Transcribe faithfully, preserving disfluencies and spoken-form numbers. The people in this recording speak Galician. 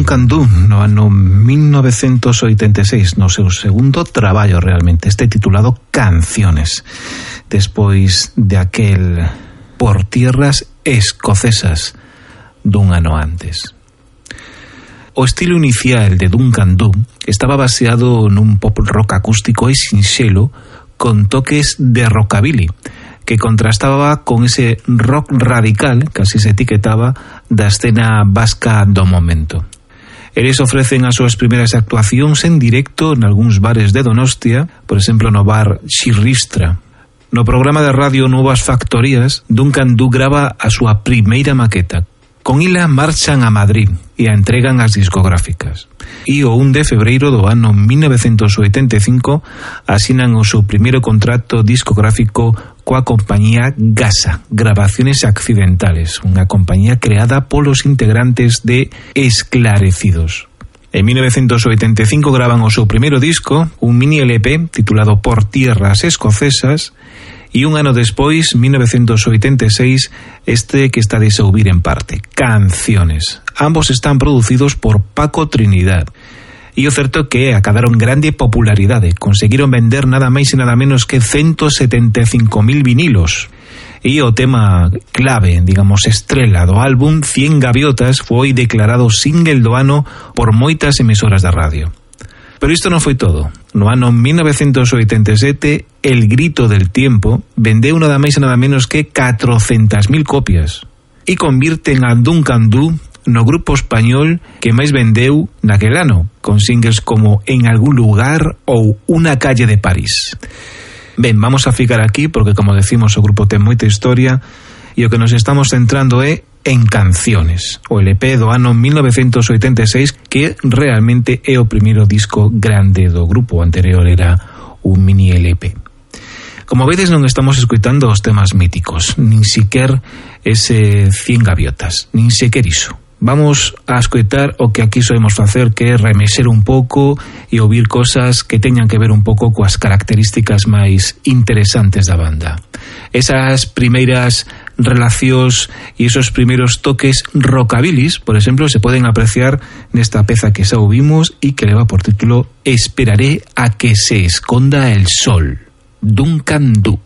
Duncan Du no ano mil novecentos oitenta e seis, no seu segundo traballo realmente, este titulado Canciones, despois de aquel Por tierras escocesas dun ano antes. O estilo inicial de Duncan Du estaba baseado nun pop rock acústico e sinxelo con toques de rockabilly, que contrastaba con ese rock radical, que así se etiquetaba, da escena vasca do momento. Eles ofrecen as súas primeiras actuacións en directo en algúns bares de Donostia, por exemplo no bar Xirristra. No programa de radio Novas Factorías, Duncan Du grava a súa primeira maqueta. Con ila marchan a Madrid e a entregan ás discográficas. E o un de febreiro do ano mil novecentos oitenta e cinco asinan o seu primeiro contrato discográfico coa compañía Gasa, Grabaciones Accidentales, unha compañía creada polos integrantes de Esclarecidos. En mil novecentos oitenta e cinco graban o seu primeiro disco, un mini L P titulado Por tierras escocesas, e un ano despois, mil novecentos oitenta e seis, este que está de ouvir en parte, Canciones. Ambos están producidos por Paco Trinidad. E o certo que acadaron grande popularidade, conseguiron vender nada máis e nada menos que ciento setenta e cinco mil vinilos. E o tema clave, digamos, estrela do álbum, Cien Gaviotas, foi declarado single do ano por moitas emisoras da radio. Pero isto non foi todo. No ano mil novecentos oitenta e sete, El Grito del Tiempo vendeu nada máis e nada menos que catrocentas mil copias e convirten a Duncan Du no grupo español que máis vendeu naquel ano, con singles como En algún lugar ou Una calle de París. Ben, vamos a ficar aquí porque, como decimos, o grupo ten moita historia e o que nos estamos centrando é en Canciones, o L P do ano mil novecentos oitenta e seis, que realmente é o primeiro disco grande do grupo. O anterior era un mini L P. Como vedes, non estamos escoitando os temas míticos, nin siquer ese Cien Gaviotas, nin siquer iso. Vamos a escoitar o que aquí soemos facer, que é remexer un pouco e ouvir cosas que teñan que ver un pouco coas características máis interesantes da banda. Esas primeiras relacións e esos primeiros toques rockabilis, por exemplo, se poden apreciar nesta peza que xa ouvimos e que leva por título Esperaré a que se esconda el sol, Duncan Du.